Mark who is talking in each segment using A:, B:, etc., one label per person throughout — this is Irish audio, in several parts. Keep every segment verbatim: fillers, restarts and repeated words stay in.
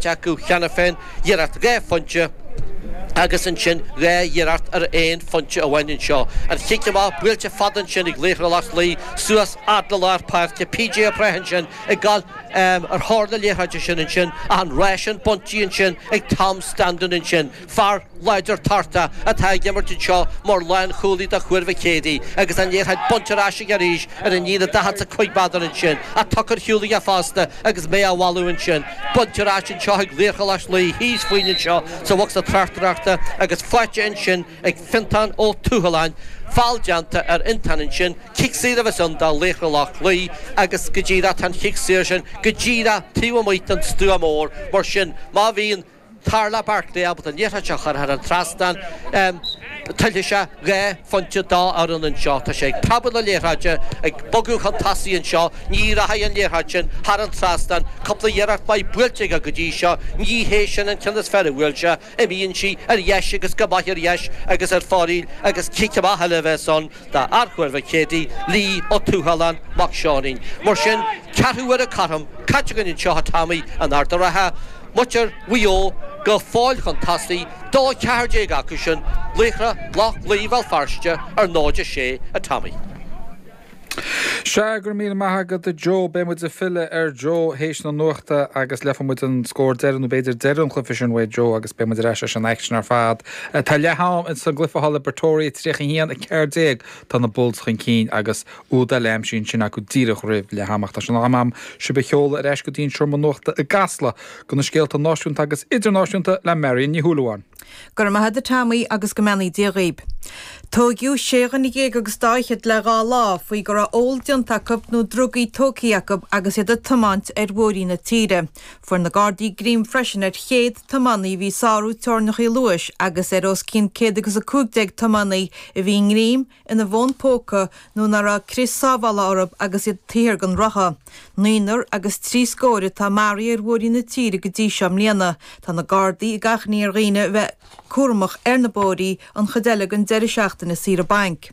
A: acu cheana féin, iarracht dhá phointe agus ansin dhá iarracht ar aon phointe amháin anseo. An chic amach buailte fada ansin ag Laochra Loch Lao suas fhad le lár páirce. PJ Ó Preith ansin ag gabháil ar thóir na liathróide sin ansin ach an ráis sin bainte ansin ag Tom Standún ansin. Fear láidir tortach atá ag imirt anseo mar lánchúlaí do Thuar Mhic Éadaigh agus an liathróid bainte ar ais aige arís ar an líne daichead is a cúig méadar ansin. Ach tugtha ar shiúl aige fosta agus méar á mhealladh ansin. Bainte ar ais anseo ag Laochra Loch Lao thíos fúinn anseo sa bhocsa tráchtaireachta agus faighte ansin ag Fiontán Ó Tuathaláin. Feall déanta ar Fhiontán ansin. Cic saor a bheas ann do Laochra Loch Lao agus go díreach tá an chic saor sin go díreach taobh amuigh den stua mór. Mar sin má bhíonn Tarlach Barclay ábalta an liathróid seo a chur thar an trasnán, tuillfidh sé dhá phointe dá fhoireann anseo. Tá sé ag preabadh na liathróide, ag bogadh chun tosaigh anseo. Ní rachaidh an liathróid sin thar an trasnán. Cúpla iarracht mhaith buailte aige go dtí seo. Ní hé sin an ceann is fearr a bhuail sé. Imíonn sí ar dheis agus go maith ar dheis agus ar fóraoil agus cic amach eile a bheas ann d'fhear Thuar Mhic Éadaigh, Lee Ó Tuathaláin Mac Seáinín. Mar sin, ceathrú uaire cothrom caite againn anseo a Tommy in Ard an Rátha. Muintir Mhaigh Eo go fóill chun tosaigh, dó a ceathair déag acu sin, Laochra Loch Lao Bhéal Feirste ar náid a sé, a Tommy.
B: Sea, go raibh míle maith agat a Joe. Beidh muid ag filleadh ar Joe théis na nuachta agus leifidh muid an scór deireadh nó b'fhéidir deireadh an chluiche sin uaidh Joe agus beidh muid ar ais leis an aicsean ar fad. Tá leath am ins an gcluiche thall i bPretoria tríocha a haon a ceathair déag tá na Bulls chun cinn agus úd eile aimsithe ansin acu díreach roimh leath ama. Ach tá sé in am agam sibh a sheoladh ar ais go dtí an seomra nuachta i gCasla do na scéalta náisiúnta agus idirnáisiúnta le Marion Ní Shúilleabháin.
C: Go raibh maith agat a Tommy agus go mbeannaí Dia dhaoib. Tóigeadh sé dhuine dhéag agus dá fhichead le dhá lá faoi go raibh ól déanta acu nó drugaí tógtha acu agus iad ag tiomáint ar bhóithrí na tíre. Fuair na Gardaí greim freisin ar chéad tiománaí a bhí ag sárú teorainneacha luais agus ar os cionn céad agus a cúig déag tiománaí a bhí i ngreim ina bhfón póca nó nach raibh crios sábhála orthu agus iad taobh thiar den rotha. Naonúr agus trí scór atá maraithe ar bhóithrí na tíre go dtí seo i mbliana. Tá na Gardaí ag achainí ar dhaoine a bheith cúramach ar na bóithrí an chuid eile den deireadh seachtaine saoire bainc.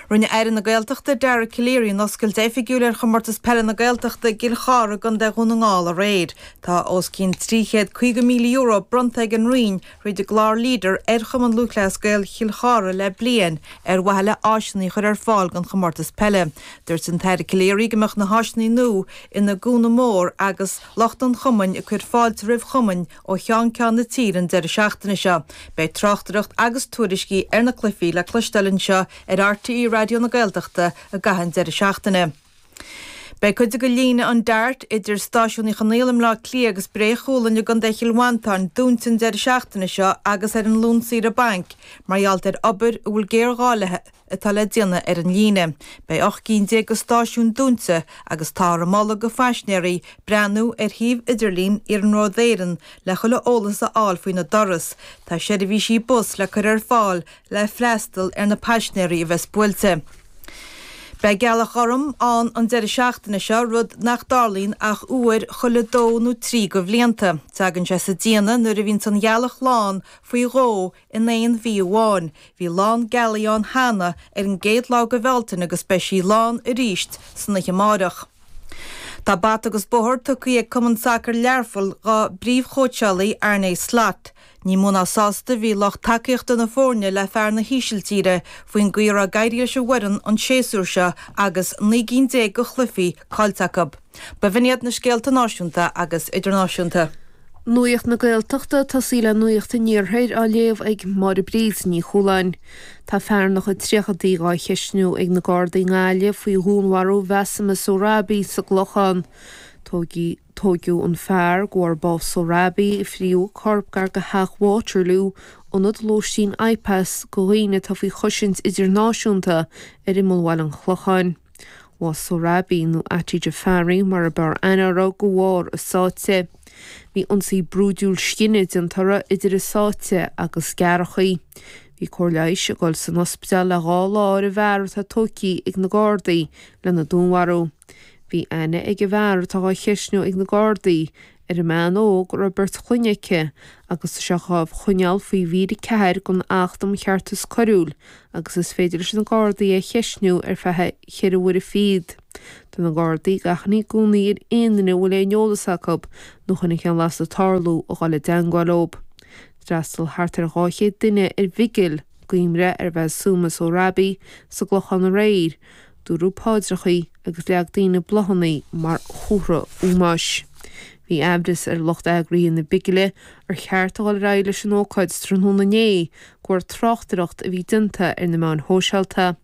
C: Rinne Aire na Gaeltachta Dara Calleary an oscailt oifigiúil ar Chomórtas Peile na Gaeltachta i gCill Chartha i gContae Dhún na nGall aréir. Tá os cionn trí chéad caoga míle euro bronnta ag an Roinn thríd an gclár Leader ar Chumann Lúthchleas Gael Chill Chartha le bliain ar mhaithe le áiseanna a chur ar fáil don chomórtas peile. Dúirt an tAire Calleary go mbeadh na háiseanna nua ina gcúnamh mór agus lucht an chumainn ag cur fáilte roimh chumainn ó cheann ceann na tíre an deireadh seachtaine seo. Beidh tráchtaireacht agus tuairiscí ar na cluichí le cloisteáil anseo ar RTÉ Raidió na Gaeltachta i gcaitheamh an deireadh seachtaine. Beidh cuid de líne an DART idir Stáisiún Uí Chonaill i mBleá Cliath agus Bré Chualann i gContae Chill Mhantáin dúnta an deireadh seachtaine seo agus ar an Luan saoire bainc mar gheall ar obair a bhfuil géarghá léi atá le déanamh ar an líne. Beidh ocht gcinn déag de stáisiúin dúnta agus táthar ag moladh do phaisinéirí breathnú ar shuíomh idirlín Iarnród Éireann le chuile eolas a fháil faoina dturas. Tá seirbhísí bus le cur ar fáil le freastal ar na paisinéirí a bheas buailte. Beidh gealach ghorm ann an deireadh seachtaine seo, rud nach dtarlaíonn ach uair chuile dó nó trí de bhlianta. Tagann sé sa déine nuair a bhíonns an ghealach lán faoi dhó in aon mhí amháin. Bhí lán gealaí ann cheana ar an gcéad lá de Bhealtaine agus beidh sí lán arís san oíche amárach. Tá bata agus bóthar tugtha ag Cumann Sacair Learphoill dá bpríomhchóitseálaí Arne Slot. Ní mó ná sásta a bhí lucht tacaíochta na foirne le fear na hÍsiltíre faoin gcaoi a raibh ag éirí leis an bhfoireann an séasúr seo agus naoi gcinn déag de chluichí caillte acu. B'in iad na scéalta náisiúnta agus idirnáisiúnta.
D: Nuacht na Gaeltachta tosaí le Nuacht an Iarthair á léamh ag Máire Bríd Ní Chualáin. Tá fear ina chuid tríochaidí dhá cheistniú ag na Gardaí i nGaillimh faoi dhúnmharú Bhasma Sohrabi sa gClochán. Tóigeadh an fear de bharr bás Sohrabi a fríodh a corp gar do theach Waterloo, ionad lóistín IPAS do dhaoine atá faoi chosaint idirnáisiúnta ar imeall Bhaile an Chlocháin. Bhásaigh Sohrabi, nó Ati Jafari mar a b'fhearr aithne uirthi, de bharr a sáite. Bhí ionsaí brúidiúil scine déanta uirthi idir a sáite agus gearrthacha. Bhí cóir leighis ag dul san ospidéal le dhá lá ar an bhfear atá tógtha ag na Gardaí lena dúnmharú. Bhí aithne ag an bhfear atá á cheistniú ag na Gardaí ar an mbean óg a raibh beirt chlainne aici agus tá sé dhá choinneáil faoi mhír a ceathair den Acht um Cheartas Coiriúil agus is féidir leis na Gardaí é a cheistniú ar feadh cheithre huaire fichead. Tá na Gardaí ag achainí i gcónaí ar aon duine a bhfuil aon eolas acu nó chonaic aon lasadh tarlú a dhul i dteangmháil leo. D'fhreastail thart ar dhá chéad duine ar bhigil cuimhne ar Mhasooma Sohrabi sa gClochán aréir, dúradh paidreachaí agus leag daoine bláthanna mar chomhartha ómóis. Bhí aimhreas ar lucht eagraithe na bigile ar cheart a dhul ar aghaidh leis an ócáid tráthnóna inné de bharr tráchtaireacht a bhí déanta ar na meáin shóisialta.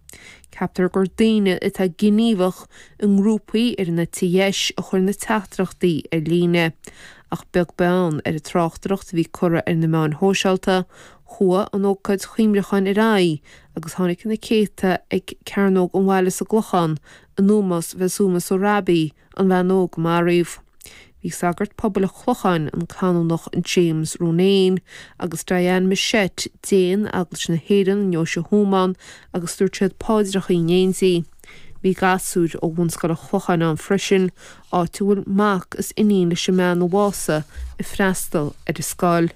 D: Ceaptar gur daoine atá gníomhach i ngrúpaí ar an eite dheis a chuir na teachtaireachtaí ar líne. Ach beag beann ar an tráchtaireacht a bhí curtha ar na meáin shóisialta, chuaigh an ócáid chuimhneacháin ar aghaidh agus tháinig na céadta ag Cearnóg an Bhaile sa gClochán in ómós Mhasooma Sohrabi, an bhean óg a maraíodh. Bhí sagart pobail an Chlocháin, an Canónach James Ronayne, agus Diane Michette, Déan Eaglais na hÉireann i nDeoise Thuama ann agus dúirt siad paidreacha in éindí. Bhí gasúir ó Bhunscoil an Chlocháin ann freisin, áit a bhfuil mac is iníon leis an mbean a bhásaigh ag freastal ar an scoil.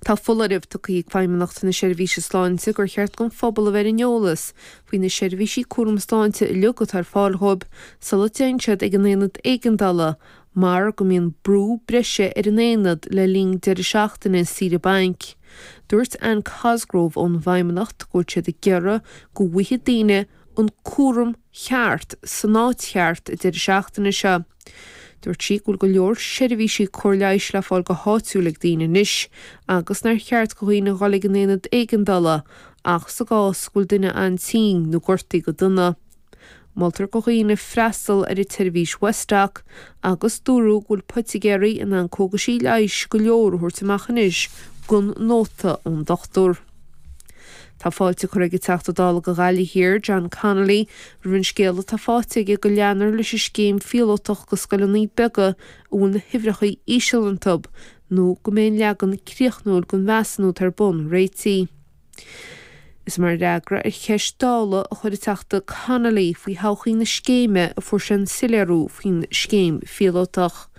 D: Tá foláireamh tugtha ag Feidhmeannacht na Seirbhíse Sláinte gur cheart don phobal a bheith ar an eolas faoi na seirbhísí cúram sláinte uilig atá ar fáil dhóibh sula dtéann siad ag an aonad éigeandála mar go mbíonn brú breise ar an aonad le linn deireadh seachtaine saoire bainc. Dúirt Anne Cosgrove ón bhFeidhmeannacht go bhfuil siad ag iarraidh go bhfaighidh daoine an cúram cheart san áit cheart an deireadh seachtaine seo. Dúirt sí go bhfuil go leor seirbhísí cóir leighis le fáil go háitiúil ag daoine anois agus nár cheart do dhaoine a dhul ag an aonad éigeandála ach sa gcás go bhfuil duine an-tinn nó gortaithe go dona. Moltar do dhaoine freastal ar an tseirbhís Westdoc agus dúradh go bhfuil poitigéirí in ann cógaisí leighis go leor a thabhairt amach anois gan nóta ón dochtúir. Tá fáilte curtha ag an Teachta Dála do Ghaillimh Thiar, John Connolly, roimh an scéala atá faighte aige go leanfar leis an scéim phíolótach do scoileanna beaga a bhfuil na huimhreacha íseal iontu nó go mbeidh an leagan críochnúil den mheasúnú atá ar bun réitithe. Is mar fhreagra ar cheist Dála a chuir an Teachta Connolly faoi thodhchaí na scéime a fuair sé an soiléiriú faoin scéim phíolótach.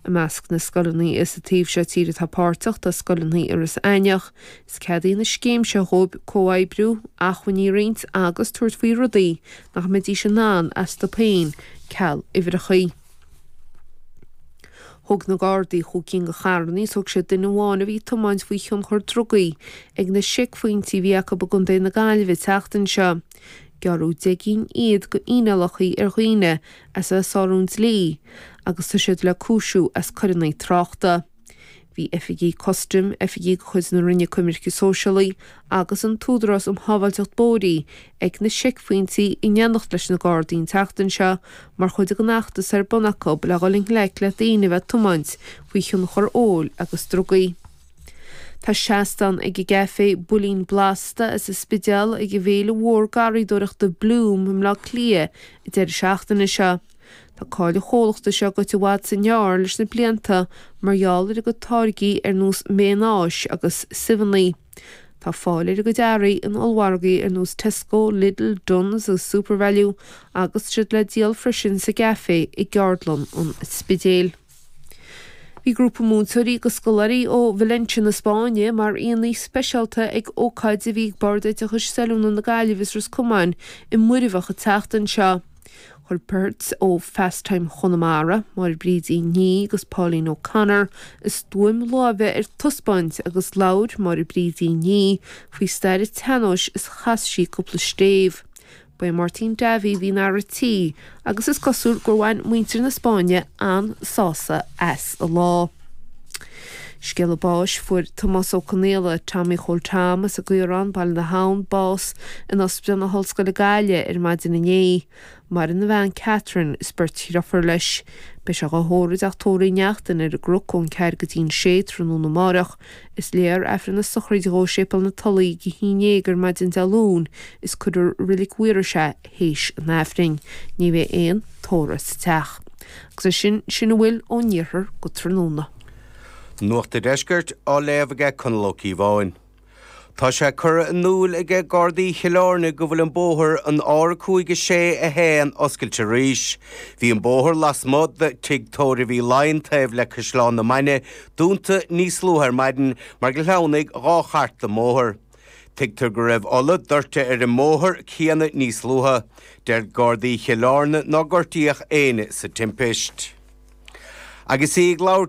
D: I measc na scoileanna sa taobh seo tíre atá páirteach tá scoileanna i Iorras Aithneach, is ceadaíonn an scéim seo dhóibh comhoibriú, acmhainní a roinnt agus tabhairt faoi rudaí nach mbeidís in ann astu féin ceal uimhreacha. Thóg na Gardaí chúig cinn de charranna is thóg siad duine amháin a bhí ag tiomáint faoi thionchar drugaí ag na seicphointí a bhí acu i gContae na Gaillimhe an tseachtain seo. Gearradh deich gcinn iad de fhíneálacha ar dhaoine as a bheith ag sárú an dlí agus tá siad le cúisiú as coireanna tráchta. Bhí oifigigh custaim, oifigigh de chuid na Roinne Coimirce Sóisialaí agus an tÚdarás um Shábháilteacht Bóithre ag na seicphointí in éineacht leis na Gardaí an tseachtain seo mar chuid den fheachtas ar bun acu le dhul i ngleic le daoine a bheith ag tiomáint faoi thionchar óil agus drugaí. Tá seastán ag an gcaifé Builín Blasta as an Spidéal ag an bhféile mhór garraíodóireachta Bloom i mBleá Cliath an deireadh seachtaine seo. Tá cáil an chomhlachta seo goite i bhfad sa ngearr leis na blianta mar gheall ar a gcuid táirgí ar nós mayonáis agus suibheanna. Tá fáil ar a gcuid earraí in ollmhargaí ar nós Tesco, Lidl, Dunnes agus Supervalu agus siad le díol freisin sa gcaifé i gceardlann an Spidéil. Bhí grúpa múinteoirí agus scoláirí ó Valencia na Spáinne mar aíonna speisialta ag ócáid a bhí ag Bord Oideachais is Oiliúna na Gaillimhe is Ros Comáin i Muirbheach an tseachtain seo. Chuir beirt ó Fast Time Chonamara, Máire Bríd Uí Ní agus Pauline O'Connor, a stuaim láimhe ar taispeáint agus labhair Máire Bríd Uí Ní faoi stair an tsean-nóis is chas sí cúpla stéibh. Ba é Máirtín Davy a bhí ina fhear an tí agus is cosúil gur bhain muintir na Spáinne an-sásamh as an lá. Scéala báis fuair Tomás Ó Conaola, Tommy Chóil Tom as an gCaorán, Baile na hAbhann, bás in Ospidéal na hOllscoile Gaillimh ar maidin inné. Maireann a bhean Catherine is beirt dheirfiúr leis. Beidh sé á thórramh i dteach tórraimh Uí Neachtain ar an gCnoc ón ceathair go dtí an sé tráthnóna amárach. Is léifear Aifreann na sochraide dhó i Séipéal na Tulaí ag a haon déag ar maidin Dé Luain is cuirfear i Reilig Mhaorais é théis an Aifrinn. Ní bheidh aon tórramh sa teach. Agus é sin, sin a bhfuil ón iarthar go tráthnóna.
E: Nuacht an Deiscirt á léamh aige Conall Ó Cíobháin. Tá sé curtha in iúl aige Gardaí Chill Airne go bhfuil an bóthar an R cúig a sé a haon oscailte arís. Bhí an bóthar lasmuigh de Tigh Tórraimh Uí Laighin taobh le Caisleán na Mainge dúnta níos luaithe ar maidin mar gur shleamhnaigh dhá chairt den mbóthar. Tuigtear go raibh ola doirte ar an mbóthar céanna níos luaithe. Deir Gardaí Chill Airne nár gortaíodh éinne sa timpist. Agus í ag labhairt